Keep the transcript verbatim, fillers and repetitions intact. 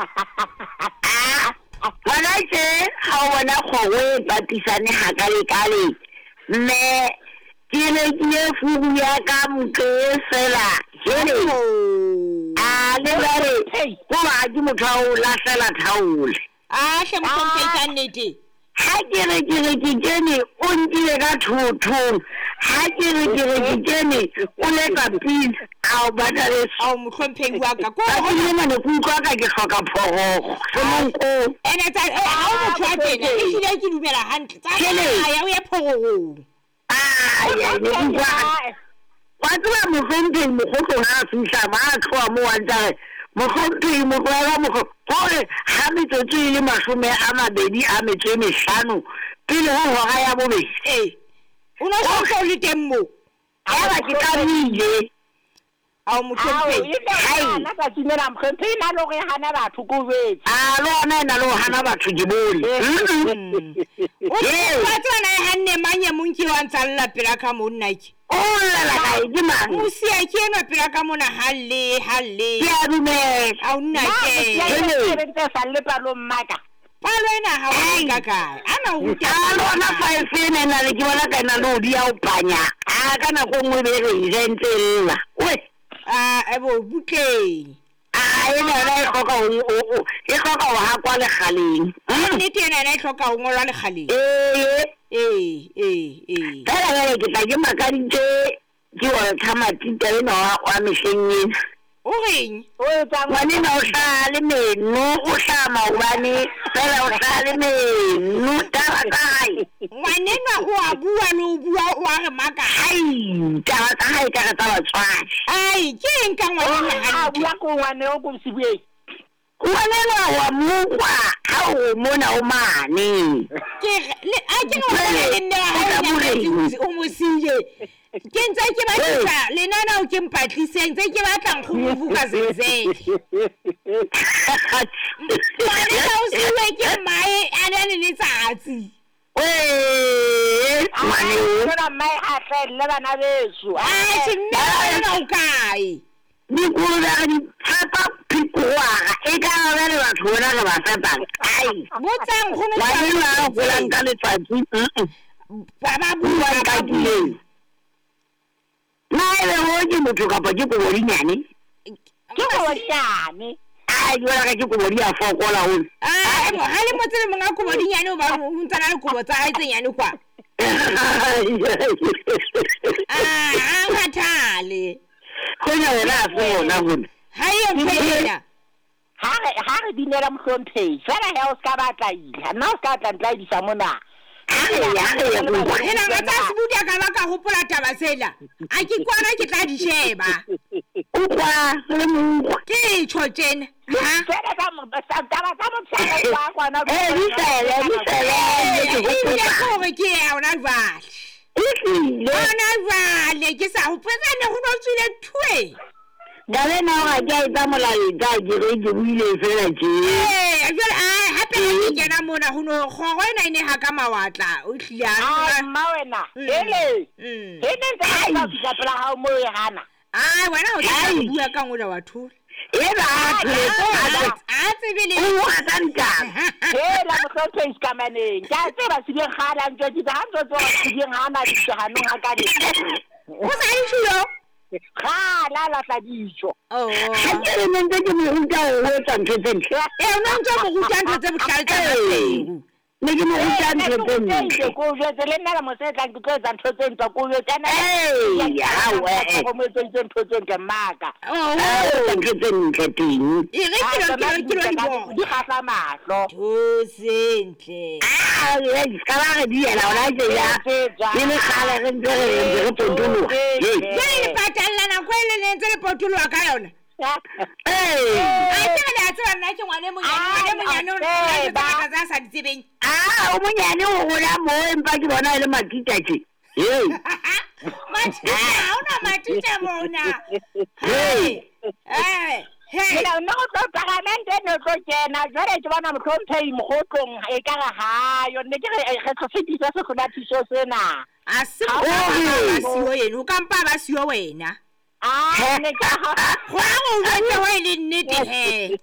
Ah, hona tje ha o bona kgoro e patisane hakalekale, mme ke rekile furu ya ka motho e fela jele. A le jwale hoba ha ke motho wa ho lahlela thaole. A hle mohlomphehi ka nnete. Ha ke re ke re ke kene o nkile ka thothong. Ha ke re ke re ke kene o letsa pina a o batla Ao mohlomphehi wa ka. Ko Tsatsing lena ne ke utlwa ka ke hloka phororo semonkong. Ene tsa eh, ha o motho wa tena ehlile ke dumela hantle. Tsa Kele. ya o ye phororong. Ai, ai, ne ke utlwa wa tseba mohlomphehi mokgotlong ha a fihla ma a tloha moo a ntse a re mohlomphehi motlohela mokgo hore ha metsotso e le mashome a mabedi a metso e mehlano pele ho hora ya bobedi. Ee. O no so o le teng moo. Yaba ke tlamehile. Ao Ao, mohlomphehi. e tla hana tsatsing lena mohlomphehi na le hore e hana batho ko jwetse. A le ona e na le ho hana batho ke bone. Mm-mm. O Ee. wa tseba na e hanne mang e mong ke wa ntsa lla pela ka monna ke. O llela kae ke mang? Mosia ke enwa pela ka mona ha lle ha lle. Ke a dumela. Ao nna Na ke. mosia Hele. e ntse sa le palong mmaka. Palo ena ha o e ka kae? Ana o ruta. A le ona five ena e na le ke bona ka ena le ho di ya ho panya. A ka nako e nngwe be re e ja e ntse e lla. Oi. Ah, ebo butleng. A ena yona e hloka ho o- o- e hloka ho hakwa lekgaleng. Mm. Nnete ena ena e hloka ho ngolwa lekgaleng. Ee. Ee, ee, ee. Fela jwale ke tla ke makaditswe ke Walter Matita enwa wa wa mehleng ena. O reng? O etsang Ngwanenwa o hlaha le meno, o hlaha maobane fela o hlaha le meno. Taba tsa hae. Ngwanenwa o a bua le ho bua o a re maka. Ai, taba tsa hae ekare tsa batswadi. Ai, ke eng ka ngwanenwa a hantle? bua ko ngwane o ko sibueng. Ngwanenwa wa mo utlwa ha o mona o mane. Ke re le a ke re o bona le mme wa hae O tla o nyametse moreng. o mo siile. Ke ntse ke batlisa lenaneo ke mpatliseng ntse ke batla nkgono Vuka Zenzele. Ngwanenwa o siuwe ke mmae a na le letsatsi. Wee, ngwaneo. Tsena mmae a hlahelle bana beso. Atjhe mme wa ngwanenwa o kae? Dikolobe re di fepa phikoara e ka ba jwale batho bona re ba fepang. Ai, Botsang nkgono ngwanenwa a holang ka letsatsi. Mm-mm. Ba ba Bua bua ba bua. nkakileng. Na ebe ho ke motho kapa ke kobodinyane? Ke kobodinyane. Ai, jwale ka ke kobodi a fokola hona. Ah, ebo ha le motse le monga kobodinyane o ba o ntsa na le kobo tsa hae tse nyane kwa. Ah, ha kgathale. Kgonya wena ha se hona hona. Ha eyo ntho ena. Ha re ha re binela mohlomphehi fela he o ska batla ila. Nna o ska tla ntlaedisa mona. Ha re ya, ha re ya ko utlwa. Ena nga tsa sebudi a ka ba ka hopola taba tsela. A ke kwana ke tla di sheba. Utlwa, le mo utlwa. Ke tjho tjena. Ha? Fela tsa mo tsa taba tsa motshehare wa kwana. Eh, di fele, di fele, ke Ebile hopotsa. ke hore ke ya hona jwale. Ehlile. Hona jwale ke sa hopotsa ne ho no tswile thwe. Taba ena hore ha ke a etsa molaetsa ke re ke buile fela tje. Ee, jwale ai hape ha ke kena mona ho no kgoro ena e ne ha ka mawatla o hlile a Ai mma wena. Mm. Hele. Mm. He ne ntse ka fihla pela hao mo e hana. Ai wena o tla Ai. bua ka ngola wa thola. Eba a tholetse, a A a tsebe le o bua ka ntaba. Hela mohlomphehi sekamaneng. Ke a tseba Sebiyeng kgale a ntjwetsitse ha ntso tseba Sebiyeng ha na dijo hanong ha ka le. O sa e tjho? Kgale a lahla dijo. Oh. Ha ke re ne ntse ke mo ruta ho etsa ntho tse ntle. Eh, o no ntso mo ruta ntho tse bohlale tsa Ee. Maseru. Ne ke mo ruta ntho tse ntle. Ko jwetse le nna le mose e tlang ke tlo etsa ntho tse ntle ko jwetse ana. Ee, hawe. Go mo etseditse ntho tse ntle mmaka. Oh. A etsa ntho tse ntle teng. E re ke lo ke lo ke lo di bona. Di kgahla mahlo. Tho sentle. Ah, eh, ska ba re di ela hona tje ya. E le kgale re ntse re ntse re potoloha. Hei. Jwale le patalla nako e le le ntse le potoloha ka yona. Ee. A ke re le a tseba nna ke ngwana e monyane, ngwana e monyane o na le ntho tse ngata tse a sa di tsebeng. Ah, o monyane o hola mo empa ke bona e le matita tje. Hei. Matita, ha hona matita mona. Hei. Eh, hey. Nna nna o tlo paramente ne o tlo kena jwale ke bona mohlomphehi mokgotlong e ka re hayo ne ke re re tlo fetisa sehlomathiso sena. A se Ha o o ba re. siyo yena, o ka mpa ba siyo wena. Ah, ne ke ha Go a go jwetse ho e le nnete he.